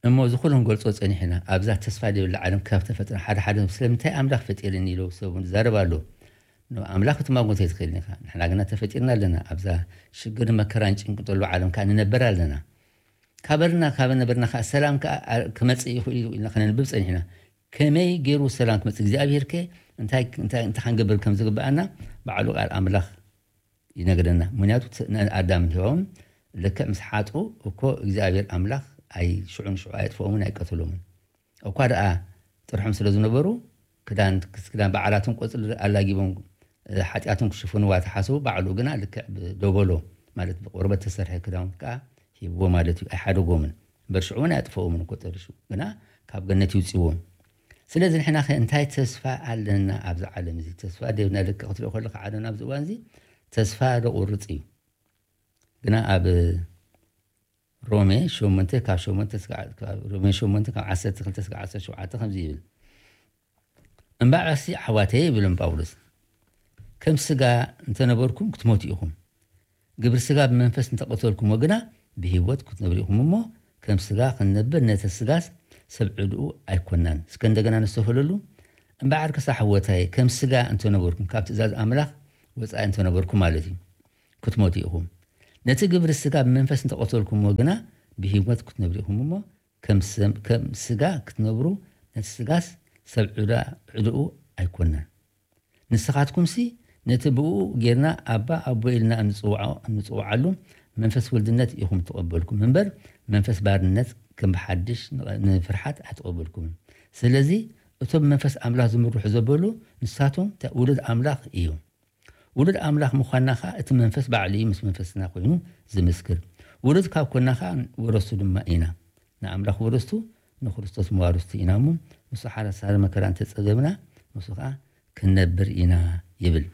እሞ እዚ ኩሉ ክንገልጾ ጸኒሕና፣ ኣብዛ ተስፋ ዘይብላ ዓለም ካብ ተፈጥረ ሓደ ሓደ ስለምንታይ ኣምላኽ ፈጢርኒ ኢሉ ሰብ እውን ዝዛረብ ኣሎ። ንኣምላኽ ክትማጎት ኣይትኽእልን ኢኻ። ንሕና ግና ተፈጢርና ኣለና። ኣብዛ ሽግርን መከራን ጭንቂ ዘሎ ዓለም ከኣ ንነበር ኣለና። ካበልና ካብ ነበርና ከኣ ሰላም ከኣ ክመጽእ ይኽእል እዩ ኢልና ከነንብብ ጸኒሕና። ከመይ ገይሩ ሰላም ክመጽእ? እግዚኣብሔር ከ እንታይ እንታይ እንታይ ክንገብር ከም ዝግብኣና ባዕሉ ቃል ኣምላኽ ይነግረና። ምክንያቱ ት- ን- ኣዳምን ሔዋውን ልክዕ ምስ ሓጡ እኮ እግዚኣብሔር ኣምላኽ ኣይ ሽዑ ንሽዑ ኣየጥፍኦምን ኣይቀትሎምን። እኳ ደኣ ጥርሖም ስለ ዝነበሩ ክዳን ክዳን በዓላትን ቆጽሊ ኣላጊቦም ሓጢኣቶም ክሽፍንዋ ተሓስቡ፣ ባዕሉ ግና ልክዕ ብደበሎ ማለት ብቆርበት ተሰርሐ ክዳውንቲ ከዓ ሂብዎ ማለት እዩ። ኣይሓደጎምን። እምበር ሽዑ እውን ኣያጥፈኦምን እኮ ጠሪሹ፣ ግና ካብ ገነት ይውፅዎም። ስለዚ ንሕና ከ እንታይ ተስፋ ኣለና ኣብዚ ዓለም እዚ? ተስፋ ደብና ልክ ክትሪኦ ከለካ ዓለም ኣብዚ እዋን እዚ ተስፋ ደቁርፅ እዩ። ግና ኣብ ሮሜ ሸሞንተ ካብ ሸሞንተ እስከ- ካብ ሮሜ ሸሞንተ ካብ ዓሰርተ ክልተ እስከ ዓሰርተ ሸውዓተ ከምዚ ይብል፣ እምበኣርሲ ኣሕዋተይ ይብሎም ጳውሎስ፣ ከም ስጋ እንተነበርኩም ክትሞቱ ኢኹም። ግብሪ ስጋ ብመንፈስ እንተቐተልኩሞ ግና ብህይወት ክትነብሩ ኢኹም እሞ፣ ከም ስጋ ክንነብር ነቲ ስጋስ ሰብ ዕድኡ ኣይኮናን። እስከ እንደገና ንስተውህለሉ። እምበኣርከስ ኣሕወታይ ከም ስጋ እንተነበርኩም፣ ካብ ትእዛዝ ኣምላኽ ወፃኢ እንተነበርኩም ማለት እዩ፣ ክትሞቱ ኢኹም። ነቲ ግብሪ ስጋ ብመንፈስ እንተቐተልኩሞ ግና ብህይወት ክትነብሩ ኢኹም እሞ፣ ከም ስጋ ክትነብሩ ነቲ ስጋስ ሰብ ዕድኡ ኣይኮነን። ንስኻትኩምሲ ነቲ ብኡ ጌርና ኣባ ኣቦ ኢልና እንፅውዓሉ መንፈስ ውልድነት ኢኹም ተቐበልኩም እምበር መንፈስ ባርነት ከም ብሓድሽ ንፍርሓት ኣይተቐበልኩምን። ስለዚ እቶም መንፈስ ኣምላኽ ዝምርሑ ዘበሉ ንሳቶም ውሉድ ኣምላኽ እዮም። ውሉድ ኣምላኽ ምዃንና ኸኣ እቲ መንፈስ ባዕሉ እዩ ምስ መንፈስና ኮይኑ ዝምስክር። ውሉድ ካብ ኮና ኸኣ ወረስቱ ድማ ኢና። ንኣምላኽ ወረስቱ ንክርስቶስ መዋርስቱ ኢና እሞ ምስ ሓሳረ መከራ እንተጸገብና ምስ ኸኣ ክንነብር ኢና ይብል።